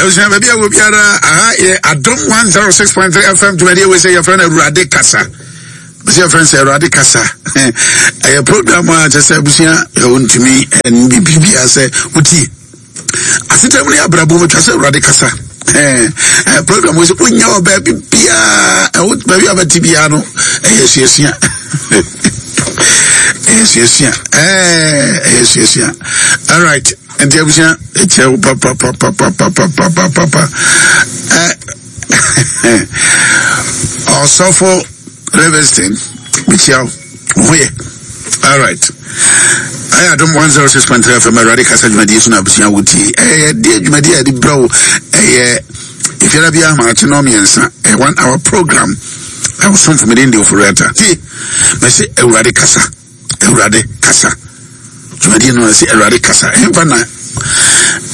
Abusua baabi a wɔ biara aha yɛ Adom 106.3 FM dwumadie wei sɛ yɛfrɛ no Awurade Kasa. Bɛsɛ yɛfrɛ no sɛ Awurade Kasa. Ɛyɛ program a kyerɛ sɛ abusua ɔntumi ɛn biribiara sɛ wotie. Asetena mu ne abrabɔ mu atwa sɛ Awurade kasa. Ɛɛ program wei sɛ wonya wɔ baabi biara ɛwo baabi a bɛte biara no ɛyɛ suasua. Ɛyɛ suasua. Ɛɛ ɛyɛ suasua. All right. Nti abusua ɛkyɛ wo papapapapapapapapa. Ɛ ɔsɔfo Livingston mekyia wo. Wo ho yɛ. All right. Ɛyɛ Adom 106.3 FM Awurade kasa dwumadie so na abusua wotie. Ɛyɛ deɛ dwumadie a yɛde brɛ wo ɛyɛ efiara bi ahomakye no mmiɛnsa. Ɛyɛ one hour program. Ɛwɔ somfo mede ndi ofori ata. Tie. Mɛsɛ Awurade kasa. Awurade kasa. Dwumadie no ɛsɛ Awurade kasa. Ɛmfa na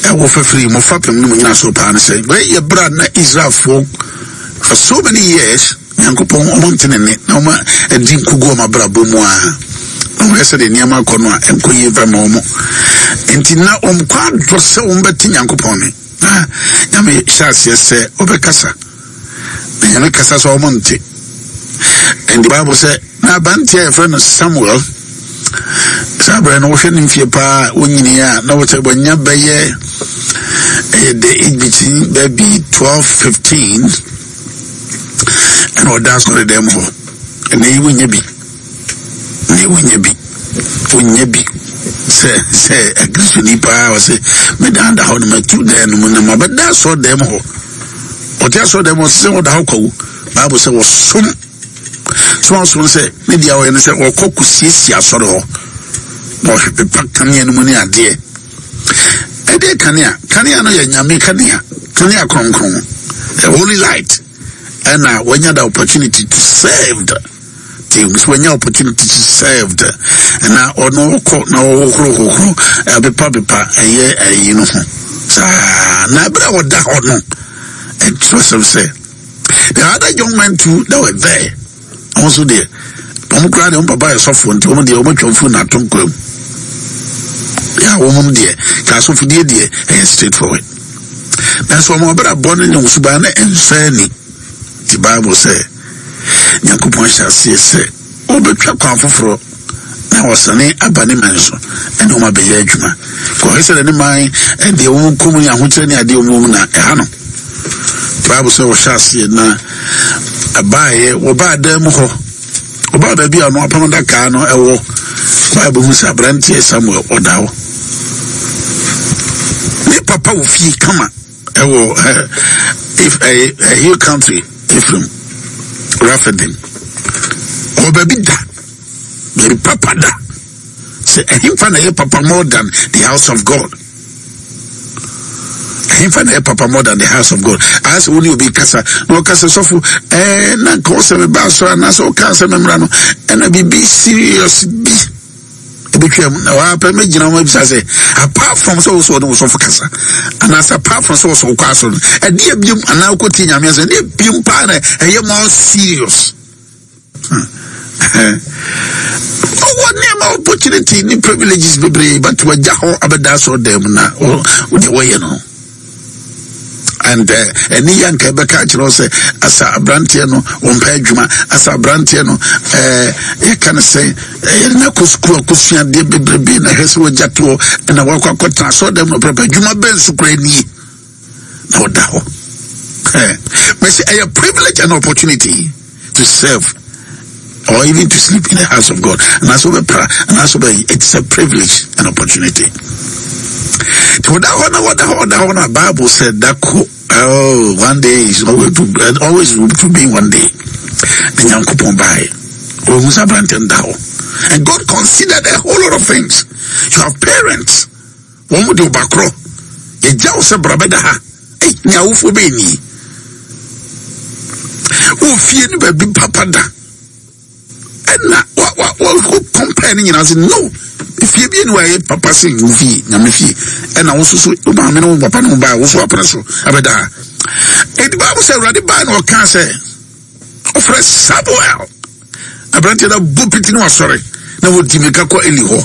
ɛwɔ fafiri mo fapem no mu nyina so paa no sɛ wei yɛ berɛ a na Israelfoɔ for so many years Nyankopɔn ɔmo nte ne nne na ɔmo adi nkogu ɔmo abrabɔ mu a na wɔyɛ sɛdeɛ nneɛma akɔ no a ɛnkɔ yie mfa ma ɔmo nti na wɔn kɔ adɔ sɛ wɔn bɛte Nyankopɔn ne na Nyame hyɛ aseɛ sɛ ɔbɛkasa na Nyame kasa sɛ ɔmo nte. And the Bible sɛ na aberanteɛ a yɛfrɛ no Samuel saa berɛ no wohwɛ ne mfie paa wonyini a na wɔkyɛ wɔanya bɛyɛ ɛyɛ the age between baabi 12 15 ɛna ɔda asɔre dɛm hɔ. Ɛnɛ yi wonya bi, ɛnɛ yi wonya bi, wonya bi sɛ sɛ akristoni paa ɔsɛ medan da hɔ no matu dan no mu na mabɛda asɔre dɛm hɔ. Ɔte asɔre dɛm hɔ sɛ ɔda hɔ kwawu. Bible sɛ wɔsom sɛ wɔsom sɛ ne deɛ ɔyɛ no sɛ ɔkɔ kɔsiesie asɔre hɔ na ɔhwɛ pepa kanea no mu ne adeɛ. Ɛdeɛ kanea, kanea no yɛ Nyame kanea, kanea kronkron, the holy light. Ɛna wanya the opportunity to serve the team, so wanya opportunity to serve the na ɔno ɔkɔ na ɔhohoro hohoro ɛpepa pepa ɛyɛ ɛyi no ho saa. Na ɛberɛ a ɔda hɔ no ɛkyerɛ sɛm sɛ the other young men too that were there wɔn nso deɛ wɔn koraa deɛ wɔn papa yɛ sɔfo nti wɔn deɛ wɔn atwa mfuru na ato nkwa mu yɛ a wɔn deɛ ka asɔfodie deɛ ɛyɛ straight forward, nanso wɔn abrabɔ ne ne suban no nsɔ ani. Ti Bible sɛ Nyankopɔn hyɛ aseɛ sɛ ɔbɛtwa kwan foforɔ na ɔsane aba ne man so ɛne wɔn abɛyɛ adwuma. Kɔhwɛ sɛ ne man ɛdeɛ wɔn kɔn mu ne ahokyerɛ ne adeɛ wɔn mu na ɛha no. Bible sɛ wɔhyɛ aseɛ na ɛbaeɛ wɔbaa dan mu hɔ, wɔbaa baabi a ɔno apam adaka no ɛwɔ. Bible hu sɛ aberanteɛ Samuel ɔda hɔ, ne papa wɔ fie kama ɛwɔ if ɛyɛ hill country Ephraim Rephidim, ɔwɔ baabi da, baabi papa da. Sɛ ɛhemfa na ɛyɛ papa more than the house of God? Ɛhemfa na ɛyɛ papa more than the house of God? Ayɛ sɛ wo ne obi kasa na ɔka sɛ sɔfo ɛɛ na nka ɔsɛ meba asɔre anaasɛ ɔka sɛ memmra no ɛna biribi serious bi ebetwa mu na wapɛ mɛgyina ho abisa sɛ apart from sɛ wosɔ ɔne wo sɔfo kasa anaasɛ apart from sɛ wosɔ wokɔ asɔre no ɛdeɛ biom anaa wokɔtie Nyame asɛm ɛdeɛ biom paa na ɛyɛ more serious? Ɔwɔ nneɛma opportunity ne privileges bebree, but wagya hɔ abɛda asɔre dan mu na wodeɛ wɔyɛ no. And ɛne yɛ nka ɛbɛka akyerɛ wo sɛ asa aberanteɛ no wɔmpɛ adwuma, asa aberanteɛ no yɛka no sɛ yɛde no akɔ sukuu akɔsua adeɛ bebrebe na hwɛ sɛ wagya toɔ ɛna wakɔ akɔtena asɔre dan mu na ɔprɛpɛ adwuma bɛn so koraa nie na ɔda hɔ. Mɛsɛ ɛyɛ privilege and opportunity to serve or even to sleep in the house of God. And that's what we and that's what it's a privilege and opportunity. The Bible said that oh, one day is always to, always to be one day. The Nyankopɔn bae. And God considered a whole lot of things. You have parents. Wɔn mu de ɔba korɔ. Yɛgya wo sɛ bra bɛda ha. Ei, nea awofoɔ bɛyɛ nie. Wɔ fie no baabi papa da. Ɛna wa wa wa wo compare ne nyinaa sɛ no. Fie bi ni wayɛ papa sen wo fie, Nyame fie. Ɛna wo soso wo maame ne wo papa ne wo baa wo so apene so abɛda ha. Edi Bible sɛ Awurade baa na ɔkaa sɛ ɔfrɛ Samuel. Aberanteɛ no abɔ piti ne wasɔre na wɔdi mirika kɔ Eli hɔ.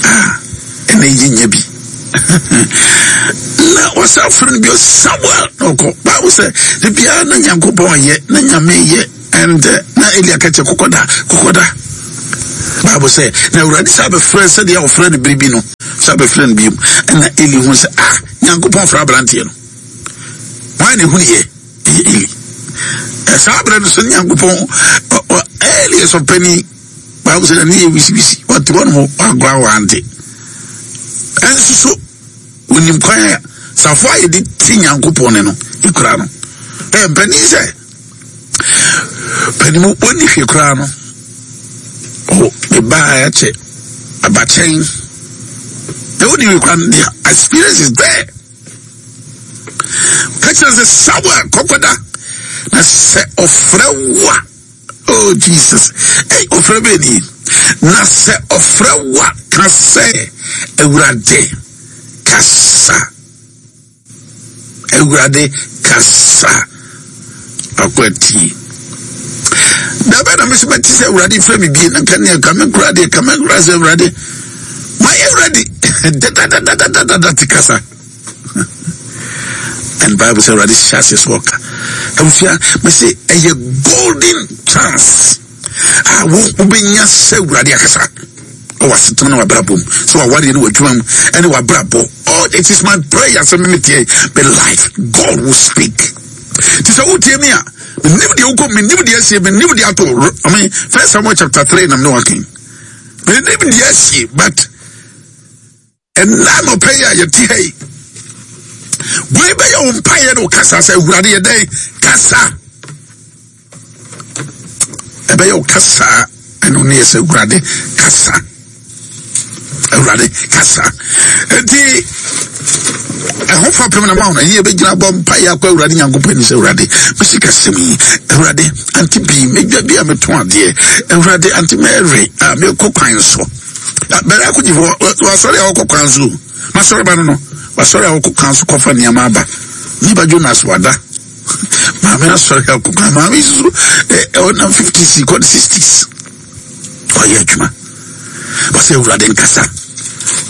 Ah, ɛna yi nyɛ bi. Na wɔsan frɛ no bio Samuel na ɔkɔ. Bible sɛ de biara na Nyankopɔn yɛ na Nyame yɛ and eh, na Eli aka kyerɛ kɔkɔda kɔkɔda. Bible sɛ na Awurade sɛ abɛfrɛ sɛdeɛ ɔfrɛ no bere bi no sɛ abɛfrɛ no bio ɛna Eli hu sɛ ah Nyankopɔn frɛ aberanteɛ no. Wɔn na ehunu yɛ ɛyɛ Eli. Saa berɛ no so Nyankopɔn Eli yɛ sɔpɛni. Bible sɛ n'ani yɛ wisiwisi, ɔte hɔ nom wankɔ awante. Ɛnso so onim kwan a safo a yɛde ti Nyankopɔn ne no ekura no. Ɛyɛ mpanin sɛ panin mu ɔnni hwee koraa no ɔ ne ba a ɛkyɛ abakyɛn na ɔnni hwee koraa no the experience is there. Ka kyerɛ sɛ Samuel kɔkɔda na sɛ ɔfrɛ wo a Oh Jesus, ei ɔfrɛ bɛɛ ni. Na sɛ ɔfrɛ wo a, ka sɛ, Awurade, kasa. Awurade, kasa. Akɔ atie. Da bɛn na me so bɛte sɛ Awurade frɛ me bie na nka neɛ ka me kora deɛ ka me kora sɛ Awurade mayɛ ready dadadadadadada te kasa. And Bible sɛ Awurade hyɛ aseɛ sɛ ɔka. Abusua, mese ɛyɛ golden chance a wo wobɛnya sɛ Awurade akasa ɛwɔ asetena ne wabrabɔ mu sɛ wawareɛ ne w'adwuma mu ɛne wabrabɔ. Oh, it is my prayer sɛ memeteɛ my life God will speak. Ti sɛ wotie mi a menim deɛ wokɔ menim deɛ asie menim deɛ ato I mean First Samuel chapter 3 nam ne waken menim deɛ asie but Ɛnnɛ anɔpa yi a yɛte ha yi, wei bɛyɛ wo mpaeɛ ne wo kasa sɛ Awurade yɛ dɛn kasa. Ɛbɛyɛ wo kasa ɛno ne yɛ sɛ Awurade kasa. Awurade kasa. Enti ɛho fapem na ma wo ɛyɛ bɛgyina bɔ mpaeɛ akɔ Awurade Nyankopɔn ani sɛ Awurade mesi kasɛm yi Awurade ante bii medwa bi a metɔn adeɛ Awurade ante Mary a mekɔ kwan so bɛrɛ akɔgye hɔ wasɔre a ɔkɔ kwan so masɔre ba no no wasɔre a ɔkɔ kwan so kɔfa nneɛma aba ne ba Jonas wada maame asɔre a ɔkɔ kwan maame soso ɛ ɔnam fifties kɔ sixties ɔyɛ adwuma wɔsɛ awurade nkasa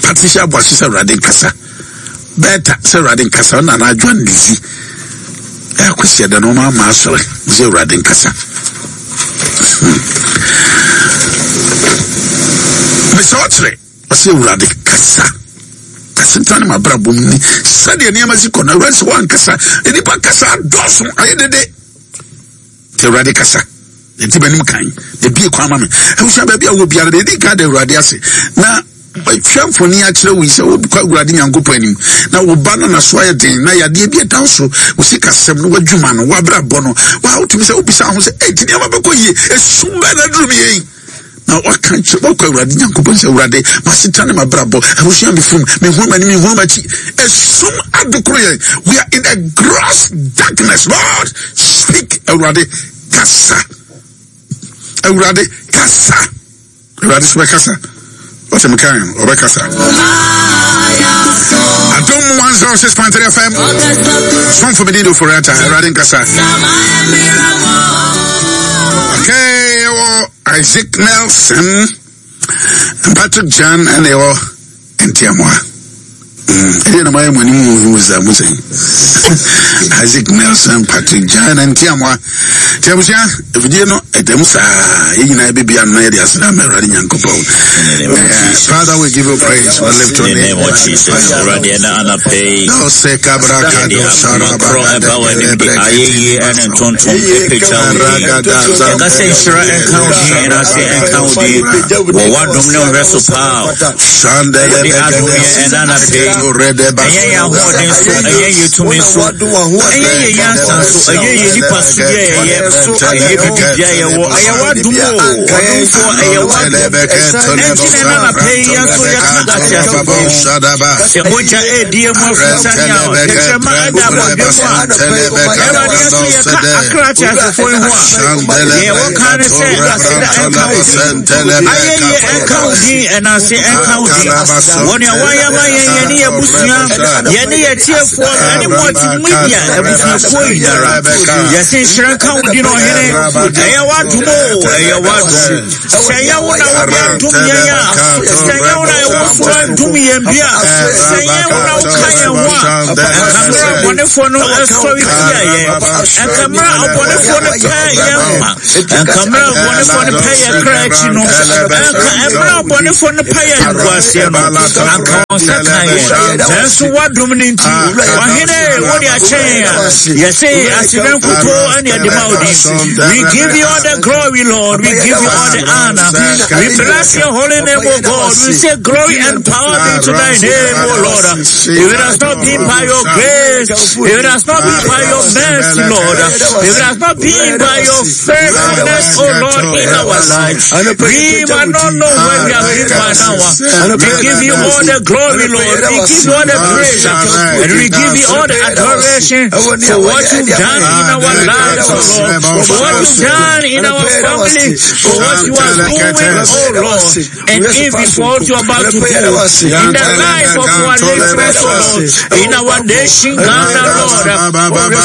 Patricia Aboakye sɛ awurade nkasa Bertha sɛ awurade nkasa ɔna n'adwa ndidi ɛkɔsi ɛda no ɔma ama asɔre sɛ awurade nkasa Mesɛ ɔkyerɛ ɔsɛ awurade kasa asetena ne mabrabɔ mu ni sɛdeɛ nneɛma si kɔ no awurade sɛ woankasa nnipa kasa adɔɔso ayɛ dede nti awurade kasa nti m'anim kan na ebie kwan ma me abusua baabi a wɔ biara deɛ ɛdi kan da awurade ase na Hwɛ mfoni akyerɛ wo yi sɛ wokɔ Awurade Nyankopɔn anim na wo ba no naso ayɛ den na yadeɛ bi ɛda wo so, wo sikasɛm no, w'adwuma no, w'abrabɔ no, wa wotumi sɛ wobisa ho sɛ, ɛti nneɛma bɛkɔ yie, esum bɛn na aduru me yɛn? Na waka kyerɛ wakɔ Awurade Nyankopɔn sɛ Awurade, m'asetena ne m'abrabɔ, abusua me fam, mehunu m'anim, mehunu m'akyi, esum adokoro yɛn. We are in a gross darkness. Lord, speak, Awurade, kasa. Awurade, kasa. Awurade so bɛkasa. Ɔsɛ me kan ɔbɛkasa. Adom 106.3 FM. Somfo me din do Forata. Awurade nkasa. Okay, ɛwɔ Isaac Nelson, Patrick Jan ɛna ɛwɔ Ntiamoa. Ɛdeɛ na mayɛ mo anim huhu sa mo sɛn. Isaac Nelson Patrick Jan Ntiamoa. Nti abusua, afidie no ɛdɛm saa. Yɛn nyinaa bɛbi ano na yɛde aseda ama Awurade Nyankopɔn. Father, we give you praise. We lift your name. Awurade ɛna anapɛ yi. Ɔsɛ kabra Yɛde kado akoma saraba korɔ ɛba w'anim de ayɛyie ɛne ntontom ɛpagya wo din. Yɛka sɛ nhyira nka wo din, ɛnase nka wo din wɔ w'adom ne wo nhwɛso paa a wode adom yɛn ɛna anapɛ yi. Ɛnyɛ yɛn ahoɔden so, ɛnyɛ yɛn tumi so, ɛnyɛ yɛn nyansa so, ɛnyɛ yɛn nipa so bi a yɛyɛ, ɛnyɛ biribi bi a yɛwɔ, ɛyɛ w'adom o, ɔdomfoɔ, ɛyɛ w'adom. Ɛnti na ɛna anapɛ yi yɛn nso yɛka ateasefoɔ ho. Sɛ mogya ɛredi yɛn mu afurusa ne a tɛkyerɛma ɛda abɔdwe mu a, Awurade yɛn nso yɛka akra ateasefoɔ yi ho a, deɛ wɔka ne sɛ aseda ɛnka wo din, ayɛyie ɛnka wo din, ɛnase ɛnka wo din. Wɔ nea woayɛ ama yɛn, yɛne yɛn abusua, yɛne yɛn atiefoɔ, ɛne mo. Multimedia abusuakuo nyinara. Yɛse nhyira nka wo din ɔhene. Ɛyɛ w'adom o, ɛyɛ w'adom. Sɛ ɛyɛ wo na wode adom yɛn a, sɛ ɛyɛ wo na ɛwɔ soro adom yɛn bi a, sɛ ɛyɛ wo na woka yɛn ho a, ɛnka mmerɛ abɔnefoɔ no sɔre tia yɛn, ɛnka mmerɛ abɔnefoɔ no pɛ yɛn nkwa, ɛnka mmerɛ abɔnefoɔ no pɛ yɛn kra akyi no, ɛnka mmerɛ abɔnefoɔ no pɛ yɛn nkoaseɛ no, anka wɔn nsa ka yɛn. Nanso w'adom no nti, ɔhene wode akyɛ yɛn a, yɛse aseda nkutoo ɛne ɛde ma wo din. We give you all the glory, Lord. We give you all the honor. We bless your holy name, O God. We say glory and power be to thy name, O Lord. If it has not been by your grace, if it has not been by your mercy, Lord, if it has not been by your faithfulness, O Lord, in our lives, we might not know where we have been by now. We give you all the glory, Lord. We give you all the praise, and we give you all the adoration for what you've done in our lives, O Lord, for what you've done in our family, for what you are doing, O Lord, and even for what you are about to do in the life of our listeners, O Lord, in our nation, Ghana, Lord.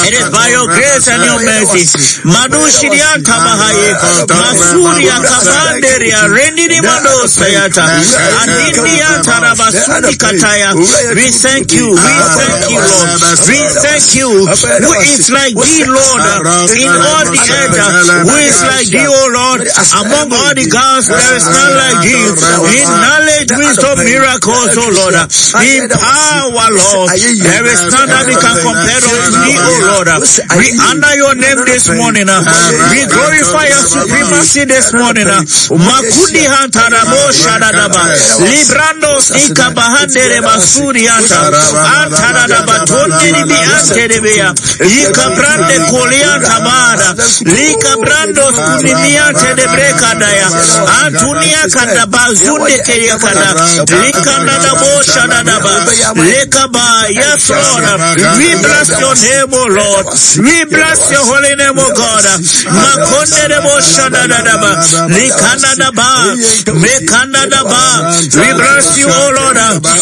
It is by your grace and your mercy. Madushirianta Bahaye, Masuria Kabanderia, Rendini Mando Sayata, Anindia Tarabasundi Kataya. We thank you, we thank you, Lord. We thank you. Who is like thee, Lord, in all the earth? Who is like thee, O Lord? Among all the gods, there is none like thee. In knowledge, wisdom, miracles, O Lord. In power, Lord. There is none that we can compare unto thee, O Lord. We honor your name this morning. We glorify your supremacy this morning. Makudi hantarabo shadadaba. Librando ikabahandere basuri anta. Antaradaba tondiribi anterebea. Ikabrande kolianta bada. Likabrando skunimiante de brekadaya. Antunia kadabazunde keyakada. Likanadabo shadadaba. Lekaba. Yes, Lord. We bless your name, O Lord. We bless your holy name, O God. Makonde shadadaba. Likanadaba. Mekandadaba. We bless you, O Lord.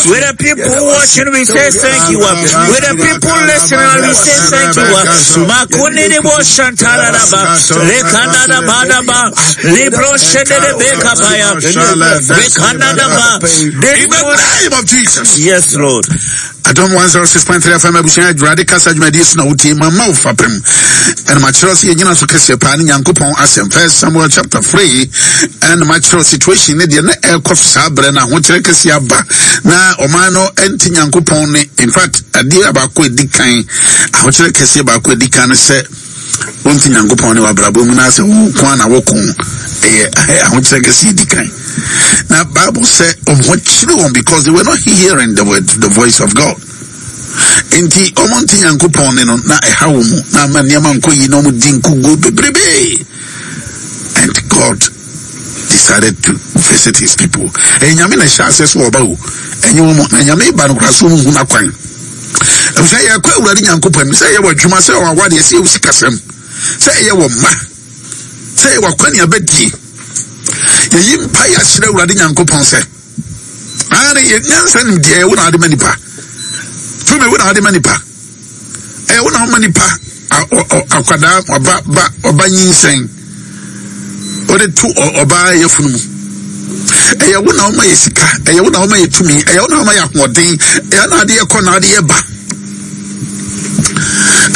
With the people watching, we say thank you. With the people listening, we say thank you. Makonde shantaradaba. Lekanadabadaba. Libro shedebekabaya. Mekanadaba. In the name of Jesus. Yes, Lord. Adom 106.3 FM abusua adwurade kasa dwumadie so na wotie ma ma wo fapem ɛna makyerɛw sɛ yɛnyina so kɛseɛ paa ne Nyankopɔn asɛm First Samuel chapter 3 ɛna makyerɛw situation ne deɛ na ɛrekɔ so saa berɛ no ahokyerɛ kɛseɛ aba na ɔman no ɛnte Nyankopɔn ne in fact adeɛ baako ɛdi kan ahokyerɛ kɛseɛ baako ɛdi kan no sɛ wonte Nyankopɔn ne w'abrabɔ mu na sɛ wo ko a na woko ɛyɛ ahokyerɛ kɛseɛ di kan na Bible sɛ ɔmo kyerɛ wɔn because they were not hearing the word, the voice of God. Nti ɔmo nte Nyankopɔn ne no na ɛha wɔn mu na ama nneɛma nkɔ yi na ɔmo di nkuguo bebrebe and God decided to visit his people. Ɛyɛ Nyame na ɛhyɛ aseɛ so ɔba o ɛnyɛ wɔn na Nyame ba no koraa so wɔn hu n'akwan. Ɛfisɛ yɛkɔ Awurade Nyankopɔn anim sɛ ɛyɛ wɔ adwuma sɛ wɔ awadeɛ sɛ ɛwɔ sikasɛm sɛ ɛyɛ wɔ mma sɛ ɛyɛ wɔ akɔneabadie yɛyi mpa yɛ akyerɛ Awurade Nyankopɔn sɛ ane yɛ nyansa nim deɛ wo na ade ma nipa tumi wo na ade ma nipa ɛyɛ wo na woma nipa akwadaa ɔba ba ɔba nyinsɛn wode to ɔbaa yafunu mu ɛyɛ wo na woma yɛ sika ɛyɛ wo na woma yɛ tumi ɛyɛ wo na woma yɛ ahoɔden ɛyɛ na ade yɛ kɔ na ade yɛ ba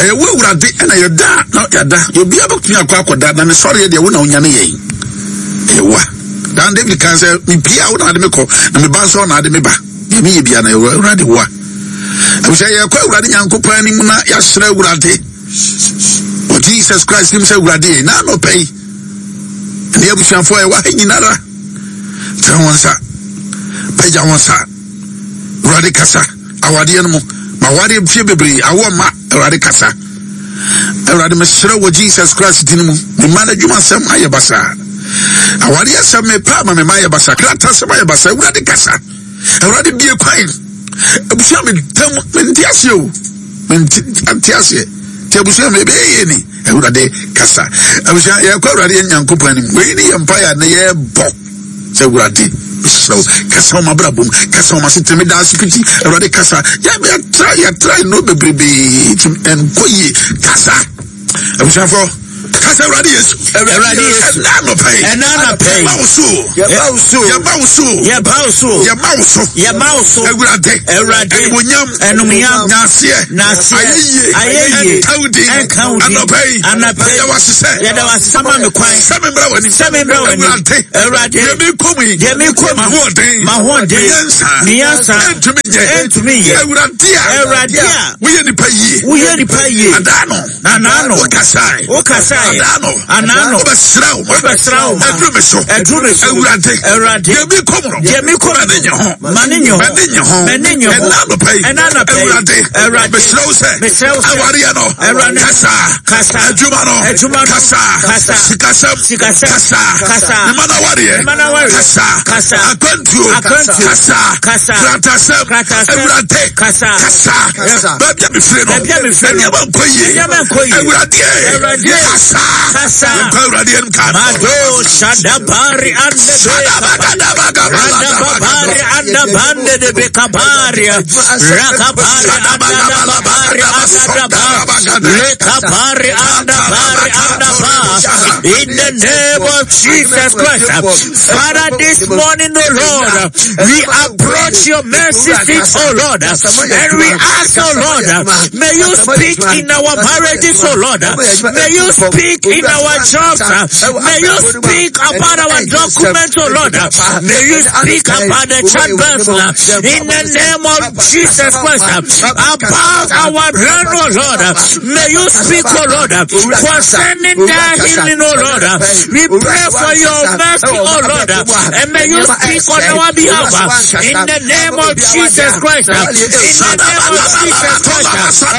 ɛyɛ wo awurade ɛna yɛda na yɛda obiara bɛtumi akɔ akɔda na ne sɔreɛ deɛ wo na wonyane yɛn ɛyɛ wo a dan David kan sɛ mepie a wo na ade me kɔ na meba nso na ade me ba deɛ meyɛ bia na ɛwɔ awurade wo a ɛfisɛ yɛkɔ awurade Nyankopɔn anim na yɛasrɛ awurade wɔ Jesus Christ nim sɛ awurade na anɔpɛ yi ne abusuafoɔ a ɛwɔ ha nyinara tene wɔn nsa pagya wɔn nsa awurade kasa awadeɛ no mu ma awadeɛ mfie bebree awoɔ ma awurade kasa awurade mesrɛ wɔ Jesus Christ din mu mema no adwuma sɛm ayɛ basaa awadeɛ sɛm mepa ama mema ayɛ basaa krata sɛm ayɛ basaa awurade kasa awurade bie kwan abusua me tam mente aseɛ o mente aseɛ nti abusua me ɛbɛyɛ yie ni awurade kasa abusua yɛkɔ awurade yɛ Nyankopɔn anim wei ne yɛ mpaeɛ a na yɛbɔ sɛ awurade Mesrɛ wo, kasa wɔ m'abrabɔ mu, kasa wɔ m'asetena mu. Meda ase piti, Awurade kasa. Yɛtra yɛtra nnuro bebrebe nti ɛnkɔ yie. Kasa. Abusuafoɔ, kasa Awurade Yesu. Awurade Yesu. Ɛna anɔpa yi. Ɛna anɔpa yi. Yɛba wo so. Yɛba wo so. Yɛba wo so. Yɛba wo so. Yɛba wo so. Yɛba wo so. Awurade. Awurade. Animuonyam. Animuonyam. Naaseɛ. Naaseɛ. Ayɛyie. Ayɛyie. Ɛnka wo din. Ɛnka wo din. Anɔpa yi. Anɔpa yi. Yɛda wo ase sɛ. Yɛda wo ase sɛ ma me kwan. Sɛ me mbra w'anim. Sɛ me mbra w'anim. Awurade. Awurade. Deɛ me kɔ mu yi. Deɛ me kɔ mu. M'ahoɔden. M'ahoɔden. Me nyansa. Me nyansa. Ɛntumi nyɛ. Ɛntumi nyɛ. Awurade a. Awurade a. Woyɛ nipa yie. Woyɛ nipa yie. Adaa no. Anaa no. Wokasae. Wokasae. Adaa no. Anaa no. Wobɛsra wo ma. Wobɛsra wo ma. Ɛduru me so. Ɛduru me so. Awurade. Awurade. Deɛ mi kɔ mu no. Deɛ mi kɔ mu no. M'ani nye ho. M'ani nye ho. M'ani nye ho. M'ani nye ho. Ɛna anɔpa yi. Ɛna anɔpa yi. Awurade. Awurade. Mesrɛ wo sɛ. Mesrɛ wo sɛ. Awareɛ no. Awurade. Kasa. Kasa. Adwuma no. Adwuma no. Kasa. Kasa. Sikasɛm. Sikasɛm. Kasa. Kasa. Mema no awareɛ. Mema no awareɛ. Kasa. Kasa. Akwantuo. Akwantuo. Kasa. Kasa. Kratasɛm. Kratasɛm. Awurade. Kasa. Kasa. Kasa. Baabi a mefiri no. Baabi a mefiri no. Nneɛma nkɔ yie. Nneɛma nkɔ yie. Awurade. Awurade. Kasa. Kasa. Yɛnkɔ Awurade anim ka. Mado shadabari ande Radababari anda bande de bekabari Rakabari anda babari anda ba Lekabari anda bari anda ba. In the name of Jesus Christ, Father, this morning, O Lord, we approach your mercy seat, O Lord, and we ask, O Lord, may you speak in our marriages, O Lord, may you speak in our jobs, may you speak about our documents, O Lord, may you speak about the childbirth, in the name of Jesus Christ, about our land, O Lord, may you speak, O Lord, concerning their healing, O Lord. We pray for your mercy, O Lord, and may you speak on our behalf, in the name of Jesus Christ. In the name of Jesus Christ,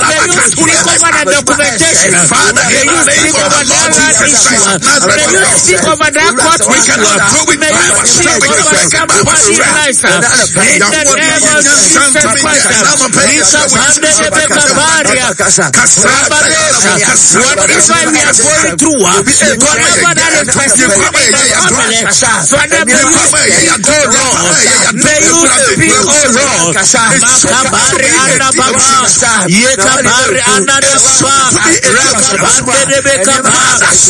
may you speak over the documentation. May you speak over that land issue. May you speak over that court We issue. cannot do it May by you ourselves. speak We over cannot by somebody's ourselves. life. In the name of Jesus Christ. Whatever we are going through, whatever that is persisting in the family, Father, may you speak, O Lord. May you speak, O Lord. Makabari anda baba, yekabari anda baba, rakabande de bekaba,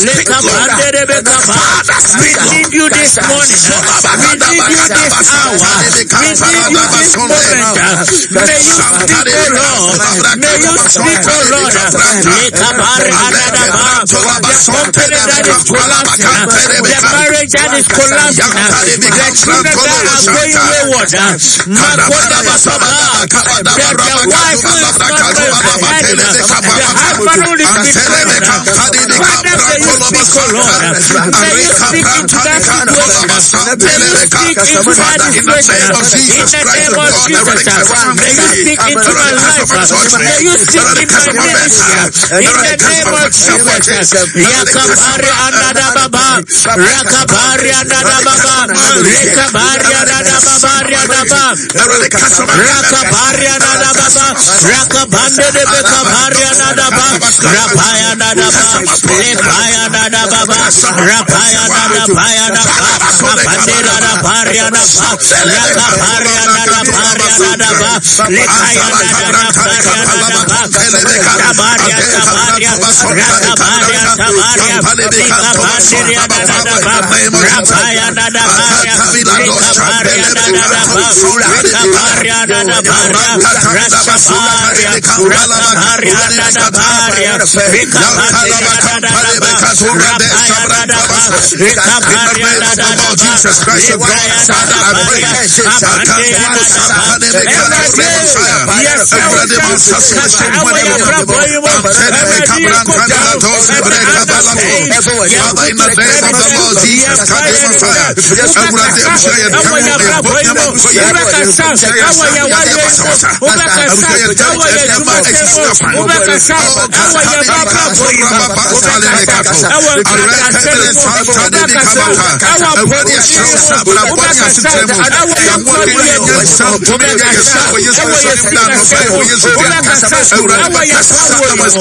lekabande de bekaba. We need you this morning. We need you this hour. We need you this moment. May you speak, O Lord. May you speak, O Lord. Lekabari anda baba. The company that is collapsing, the marriage that is collapsing, the children that are going wayward, the wife who is not heading, the husband who is betraying. Father, may you speak, O Lord. May you speak into that situation. May you speak into that situation. In the name of Jesus, may you speak into my life. May you speak in my ministry. In the name of Jesus. Yakabari andada baba, Rakabari andada baba, Rekabari andada baba, andada Rakabari andada baba, Rakabande de bekabari andada baba, Rapaya andada baba, Lepaya andada baba, Rapaya andada baya andada Rapandera rapari andada baba, Rakabari andada bari andada baba, Lekaya andada bari andada baba, Tabaria tabaria, Rakabaria tabaria, Likabanderia andada baba, Rapaya andada baria, Likabaria andada baba, Rikabaria andada baria, Rashabaria, Rakabaria andada baria, Rikabanderia andada baba, Rapaya andada baba, Rikabaria andada baba, Lekaya andada baria, Abandeya andada baba. Yes, Father, in the name of the Lord Jesus Christ,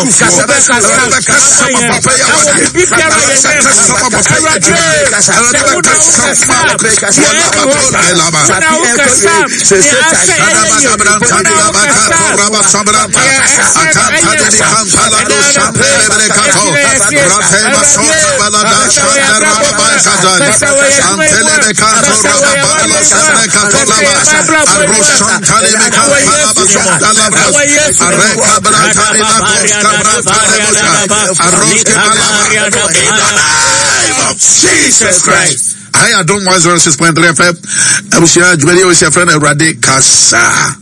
Messiah, Awurade bɛkasa ma papa yɛ awadeɛ. Awurade bɛkasa ma papa yɛ adwuma. Awurade bɛkasa ma Jesus Christ. Hi, Adom 106.3 FM. Abusua dwumadi a wɔsi afrɛ no Awurade Kasa.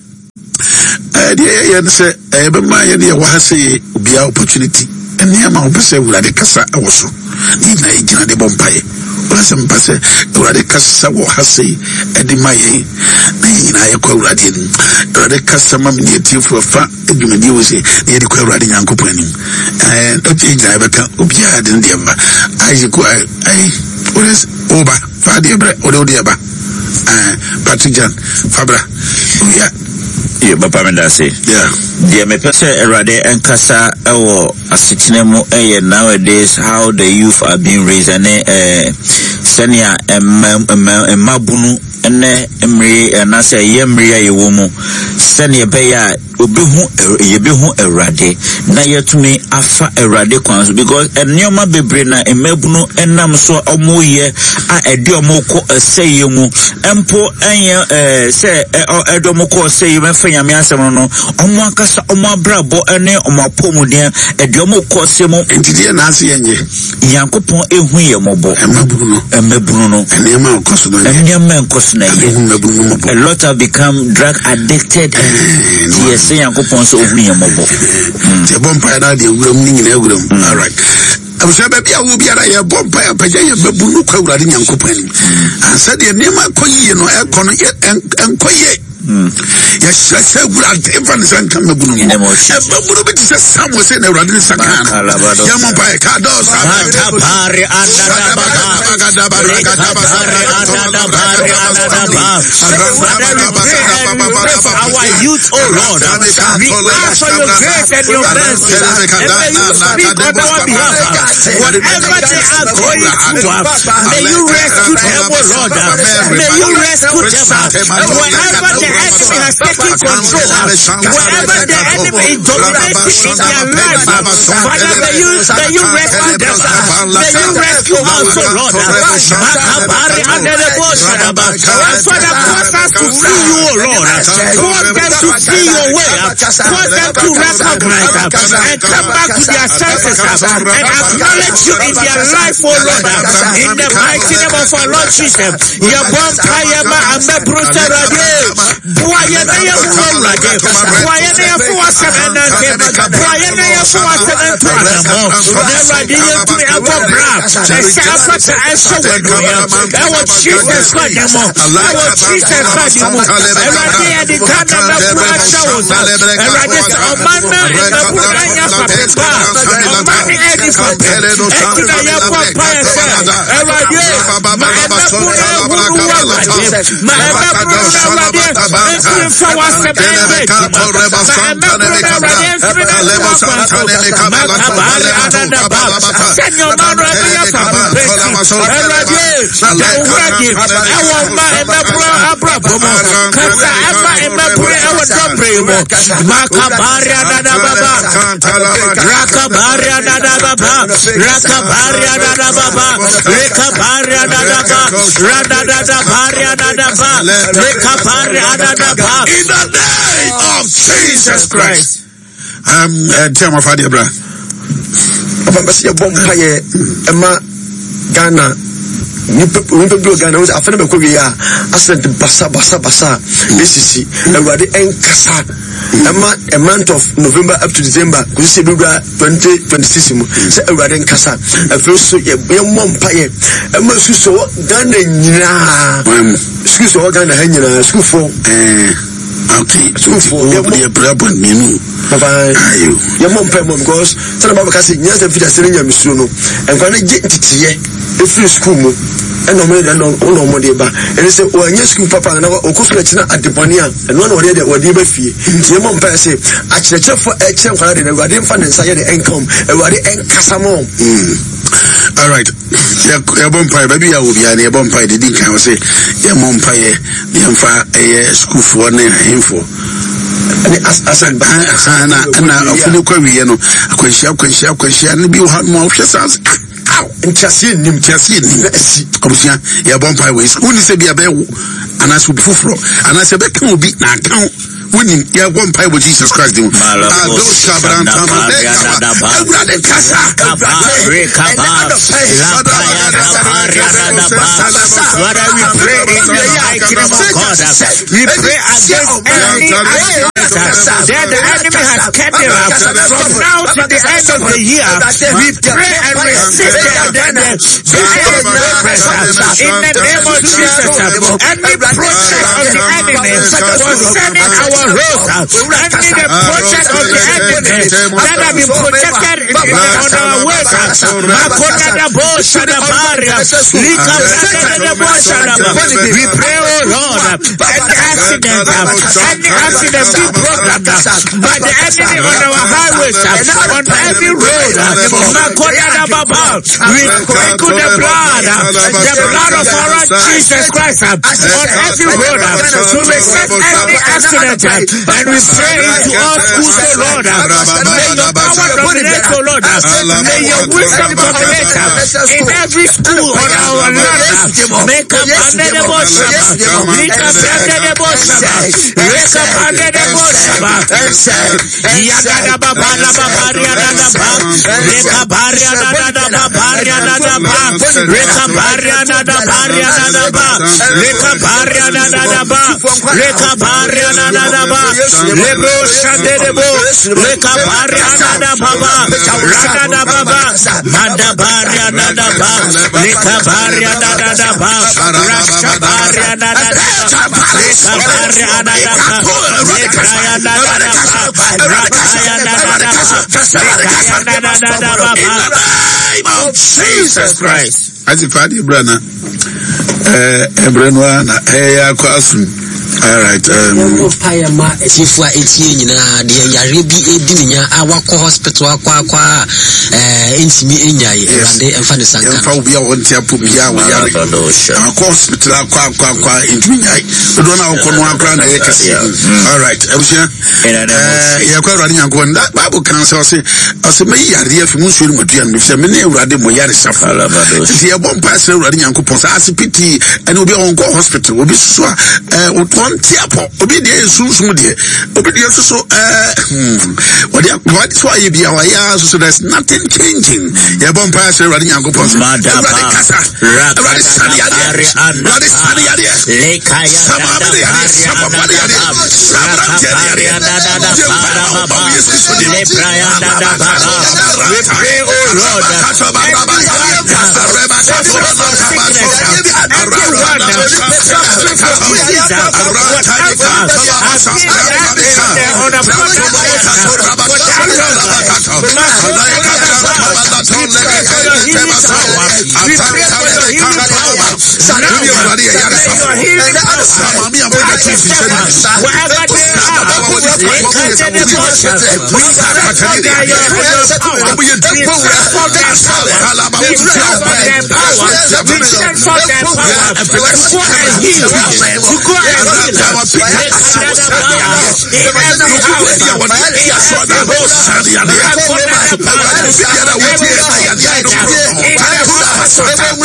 Deɛ yɛyɛ no sɛ ɛbɛma yɛne yɛwɔ ha sɛ yɛ obiara opportunity nneɛma a wɔpɛ sɛ Awurade kasa wɔ so ne nyinaa yɛgyina de bɔ mpaeɛ. Wɔn sɛ mpa sɛ Awurade kasa wɔ ha sɛ ɛde ma yɛn na yɛn nyinaa yɛkɔ Awurade anim. Awurade kasa ma me ne atiefoɔ ɛfa dwumadie wɔ sɛ na yɛde kɔ Awurade Nyankopɔn anim. Ɛɛ ɛkyɛ nyinaa yɛbɛka obiara de ne deɛ bɛba. Isaac ayi wode woba fa adeɛ brɛ wode wode ɛba. Ɛɛ Patrick Jan fa bra. Owia. Yɛ papa me da ase. Yeah. Deɛ mepɛ sɛ Awurade nkasa wɔ asetena mu yɛ nowadays how the youth are being raised ɛne ɛɛ sɛnea mma mma mmabunu ɛnɛ mmere anaasɛ ɛyɛ mmere a yɛwɔ mu sɛnea ɛbɛyɛ a obehu yɛbɛhu Awurade na yɛatumi afa Awurade kwan so because nneɛma bebree na mmabunu nam so a wɔyɛ a ɛde wɔn kɔ ɛsɛeɛ mu mpo ɛnyɛ ɛɛ sɛ ɛde wɔn kɔ ɔsɛeɛ mu ɛfɛ Nyame asɛm no no wɔn ankasa wɔn abrabɔ ne wɔn apɔmuden ɛde wɔn kɔ ɔsɛeɛ mu. Nti deɛ na ase yɛnyɛ. Nyankopɔn ehu yɛ mmɔbɔ. Mmabunu no. Mmabunu no. Nneɛma a ɛkɔ so no yɛ. Nneɛma a ɛkɔ so no yɛ. Ehu mmabunu no mmɔbɔ. A lot have become drug addicted. Ti yɛ sɛ Nyankopɔn sɛ ohu yɛ mmɔbɔ. Ti ɛbɔ mpaeɛ na adeɛ wuram ne nyinaa wuram. All right. Abusua baabi a wo biara yɛbɔ mpaeɛ apagya yɛ mmabunu kɔ Awurade Nyankopɔn anim. Ansa deɛ nneɛma ɛkɔ yie no ɛkɔ no ɛnkɔ yie. Yɛhyɛ sɛ Awurade mfa ne nsa nka mmabunu no. Mmabunu bi te sɛ Samuel sɛ na Awurade ne nsa kaa no. Yɛmmɔ mpaeɛ ka dɔɔ saa. Matapare andadaba. Rekapare andadabare andadaba. Father, we pray and we pray for our youth, O Lord. We ask for your grace and your mercy. And may you speak on our behalf. Whatever they are going through, may you rescue them, O Lord. May you rescue them. Wherever the enemy has taken control, wherever the enemy is dominating in their life, Father, may you rescue them. May you rescue us, O Lord. Makabari anderebo shadaba. And Father, cause us to see you, O Lord. Cause them to see your way. Cause them to recognize and come back to their senses and acknowledge you in their life, O Lord. In the mighty name of our Lord Jesus. Yɛbɔ mpaeɛ ma amɛboro sɛ Awurade boa yɛn na yɛhu Awurade boa yɛn na yɛfo w'asɛm ɛnante boa yɛn na yɛfo w'asɛm nto anammɔ na Awurade yɛntumi ɛbɔ bra ɛsɛ afata ɛhyɛ w'anuonyam ɛwɔ Jesus Christ ne mu ɛwɔ Jesus Christ ne mu Awurade yɛde Ghana mɛboro ahyɛ wo nsa Awurade sɛ ɔman na mmɛboro anya fapem pa ɔman ne ɛni fapem ɛnti na yɛbɔ mpaeɛ sɛ Awurade ma ɛmɛboro ɛhunu w'Awurade ma ɛmɛboro no Awurade mfiri mfa w'asɛm ɛnyɛ adwuma ma ɛmɛboro no Awurade mfiri no nto akwan so makabare anadaba sɛnea ɔman no ɛbɛyɛ fapem pɛsi Awurade da wo ho adi ɛwɔ ma ɛmɛboro abrabɔ mu kasa ɛma ɛmɛboro ɛwɔ dɔbere mu makabare anadababa rakabare anadababa rakabare anadababa rekabare anadaba radadadabare anadaba rekabare anadaba. In the name of Jesus Christ. Tia ma fa deɛ bra. Papa mpɛ sɛ yɛbɔ mpaeɛ ɛma Ghana nipa nipa bi wɔ Ghana wọ́n sɛ afɛn bɛkɔ wie a accident basa basa basa esisi Awurade ɛnkasa ɛma a month of November up to December kò sí ebi wura 2026 mu sɛ Awurade nkasa afei so yɛ yɛmmɔ mpaeɛ ɛma sukuu sɛ wɔ Ghana nyinaa sukuu sɛ wɔ Ghana ha nyinaa sukuufoɔ. Okay. Sukuufoɔ yɛmmɔ yɛ prayer point mmienu. Papa yɛmmɔ mpaeɛ mɔ because sɛdeɛ Bible ka sɛ nyansa mfiri ase ne nyamesuro no nkwa no gye nteteyɛ ɛfiri sukuu mu. Ɛna ɔmo de ɛna ɔmo de ba. Ɛne sɛ wɔanyɛ sukuu papa na ɔkɔ sukuu akyi na adebɔne a ɛno na ɔde deɛ wɔde ba fie. Nti yɛmmɔ mpaeɛ sɛ akyerɛkyerɛfoɔ ɛkyerɛ nkwadaa de no Awurade mfa ne nsa yɛ de ɛnka wɔn. Awurade ɛnkasa ma wɔn. All right. Yɛbɔ mpaeɛ baabi a wɔ biara no yɛbɔ mpaeɛ de di nkan wɔ sɛ yɛmmɔ mpaeɛ na yɛmfa ɛyɛ sukuufoɔ ne ahemfoɔ ne asan ba na na ɔfo no kɔ awieɛ no akwanhyia akwanhyia akwanhyia ne bi wɔ ha no a wohwɛ saa aw nteaseɛ nnim nteaseɛ nnim na asi abusua yɛbɔ mpaeɛ wɔ yesu wonni sɛ bi abɛyɛ wo anaasɛ obi foforɔ anaasɛ ɛbɛka obi na aka wo wonim yɛbɔ mpaeɛ wɔ jesus christ din mu awurade kasa Father, we pray in the mighty name of God. We pray against any accident that the enemy has scheduled from now to the end of the year. We pray and resist the progress in the name of Jesus. Any project of the enemy concerning our roads, any the project of the enemy that have been projected on our ways, we pray, oh Lord, any accident, any accident be programmed by the enemy on our highways, on every road. We sprinkle the blood of our Lord Jesus Christ on every road to resist every accident. And we pray into all schools, O Lord. May your power dominate, O Lord. May your wisdom dominate in every school on our land. Make up under the bush, make up under the bush, make up under the bush. Yagada baba la baba riada ba, reka baria da da baria da da ba, reka baria da da baria da da ba, reka baria da da da ba, reka baria da da da ba, lebro shande debo, reka baria da da baba, rada da baba, manda baria da da ba, reka baria da da da ba, rasha baria da da da ba, reka baria da da ba, reka ya da da da ba, raka ya da da da ba, reka ya da da da da ba. In the name of Jesus Christ. Ati fa adeɛ bra na ɛbrɛ no ara na ɛyɛ akɔ asom. All right. Yɛmmɔ mpaeɛ ma atiefo a ɛtie nyinaa deɛ yareɛ bi ɛdi ne nya a wakɔ hospital akɔ akɔ a ɛntumi nnyae. Awurade ɛmfa ne sanka. Yɛmfa obi a ɔnte apɔ biara a wɔyare akɔ hospital akɔ akɔ akɔ a ɛntumi nnyae. Dodoɔ no a wɔkɔ no akora na ɛyɛ kɛseɛ. All right. Abusua. Yɛkɔ Awurade Nyankopɔn. Bible kan sɛ ɔse ɔse mɛyi yareɛ afi mo nsuo ne mo aduane mu efisɛ mene Awurade mo yaresafo. Nti yɛbɔ mpae srɛ Awurade Nyankopɔn sɛ asepiti ɛne obi a ɔnkɔ hospital obi soso a ɔnte apɔ obi deɛ yɛ sunsum deɛ obi deɛ soso wɔde wɔde so ayɛ bi a wɔayɛ ara soso there's nothing changing. Yɛbɔ mpae srɛ Awurade Nyankopɔn sɛ Awurade kasa Awurade sane yadeɛ Awurade sane yadeɛ samaame ne yadeɛ sapapa ne yadeɛ saberanteɛ ne yadeɛ gye mpae ma wo ba wo Yesu Kristo din We pray, O Lord, everyone suffering from disease, whatever has been on a we pray for your healing power. We pray for your healing power. Now, may your healing power wherever they are, we send for their power. We send for their power. We send for their power. We send for their power to go and heal. To go and heal. In every house, in every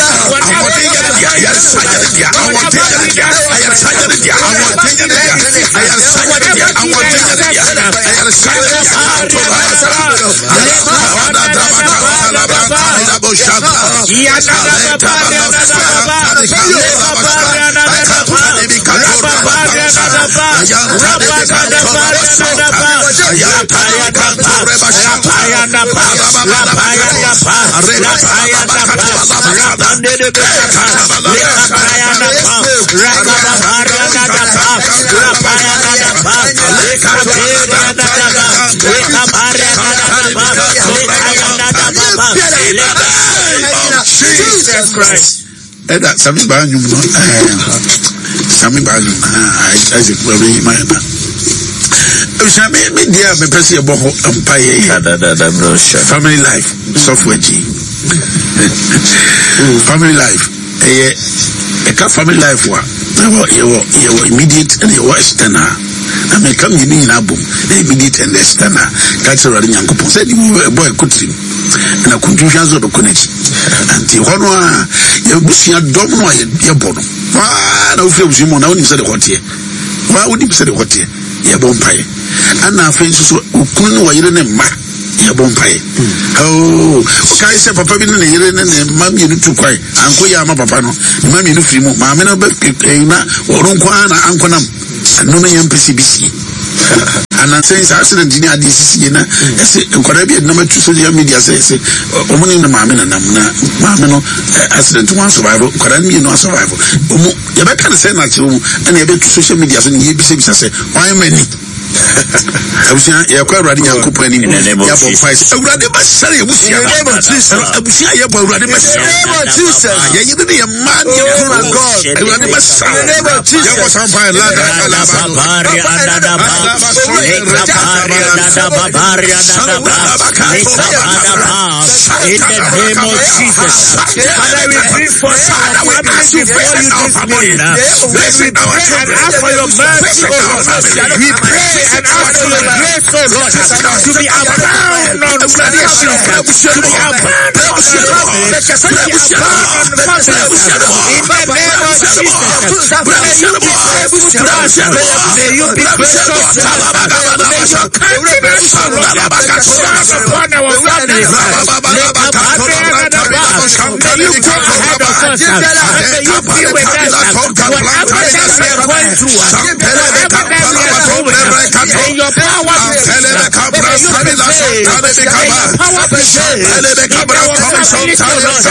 home, Jesus Christ. Ɛda Sami baa nnwom no ɛɛ Sami baa nnwom ɛɛ Isaac bɛbɛ yi ma yɛn na. Ebusua mi mi deɛ a mepɛ sɛ yɛbɔ ho mpa yɛ yɛ family life sɔfo akyi family life ɛyɛ ɛka family life wa yɛwɔ yɛwɔ yɛwɔ immediate ɛna yɛwɔ external na mɛka mmienu nyinaa bom na immediate and external ka kyerɛ Awurade Nyankopɔn sɛ ɛdi mu ɛbɔ ɛkɔ tirim. Na kuntuhwa nso bɛkɔ n'akyi. Nti hɔ no a yɛbusua dɔm no a yɛbɔ no waa na wofiri abusua mu na wonim sɛde hɔ teɛ waa wonim sɛde hɔ teɛ yɛbɔ mpaeɛ ɛna afei nso so okunu ne wɔyere ne mma yɛbɔ mpaeɛ oo wokae sɛ papa bi ne ne yere ne ne mma mmienu tu kwan anko yɛ ama papa no ne mma mmienu firi mu maame no bɛ na ɔno nko ara na ankonam Ɛno no yɛn mpɛ sɛ ebi sie. Anansɛ saa accident ne adeɛ sisi yɛ na ɛsɛ nkwadaa bi ɛnam atu social media sɛ ɛsɛ wɔn ne ne maame nanam na maame no accident wɔn survive nkwadaa no mmienu asurvive wɔn yɛbɛka ne sɛ na akyerɛ wɔn ɛna yɛbɛtu social media so ne yɛbisabisa sɛ wɔn ama ni abusua yɛkɔ awurade nyankopɔn anim yɛabɔ mpae sɛ awurade bɛsɛre yɛbusua abusua yɛbɔ awurade bɛsɛre yɛyere ne yɛ mma ne yɛ kunu awurade bɛsɛre yɛbɔ saa mpae lada In the name of Jesus, Father, we bring forth our families before you this morning. We pray and ask for your mercy, O Lord. We pray and ask for your grace, O Lord, to be abound on nations, to be abound on families, to be abound on families. In the name of Jesus, may you be faithful to us. May you be gracious to us. May your countenance, O Lord, shine upon our families. May you go ahead of us. May you be with us. Whatever that we are going through, whatever that we are doing, may your power be seen. May you prevail. May your power prevail. In our families, O Lord.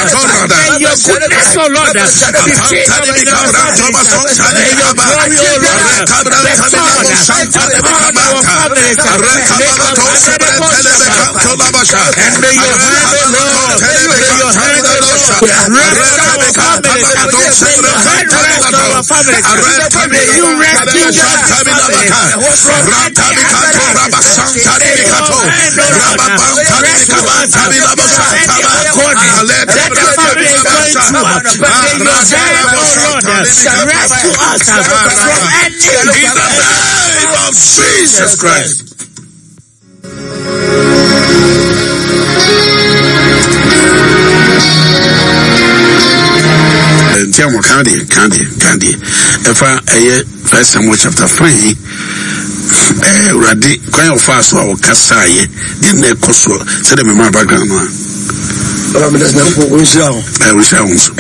May your goodness, O Lord, be seen in our families. May your glory, O Lord, be sought upon our families. And may your hand, O Lord, may your hand, O Lord, rest our families. May your hand rest our families. May you rescue our families from any accident. May your hand, O Lord, rescue us from any agony that the family is going through. May your hand, O Lord, rescue us from any. In the name of Jesus Christ. Nti a wɔka deɛ ka deɛ ka deɛ ɛfa ɛyɛ First Samuel chapter 3 ɛɛ Awurade kwan a ɔfaa so a ɔkasaeɛ deɛ na ɛkɔ soɔ sɛdeɛ mema background no a. Baba meda Nyankopɔn ɔnhyira wo. Ɛɛ ɔnhyira wo nso.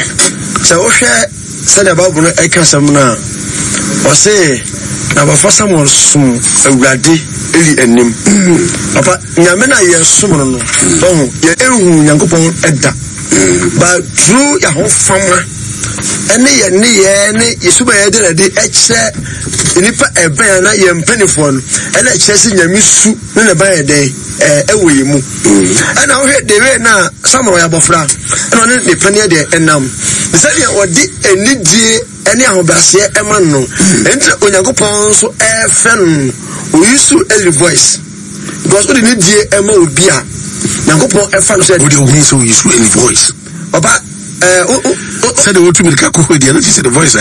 Sɛ wohwɛ Sɛdeɛ Bible no ka asɛm no a, ɔse, Na abɔfra Samuel som Awurade Eli anim. Papa, Nyame no a yɛsom no no, ɔho, yɛnhu Nyankopɔn da. But through yɛahofama ɛne yɛn nneyɛɛ ne yɛ suban yɛde na de ɛkyerɛ nnipa ɛbɛn anaa yɛn mpanimfoɔ no, ɛna ɛkyerɛ sɛ Nyame su ne ne ba yɛ dɛn ɛwɔ yɛn mu. Ɛna wohwɛ the way na Samuel ɔyɛ abɔfra ɛna ɔne ne paneɛ deɛ ɛnam sɛdeɛ ɔde anidie ɛne ahobrɛaseɛ ɛma no ɛnti na Onyankopɔn nso ɛfrɛ no oyi so Eli voice because wode ne die ɛma obi a Nyankopɔn ɛfa no sɛ wode ohun sɛ oyi so Eli voice papa ɛɛ sɛdeɛ wɔtu mirika kɔ hɔ deɛ no kyɛ sɛ the voice.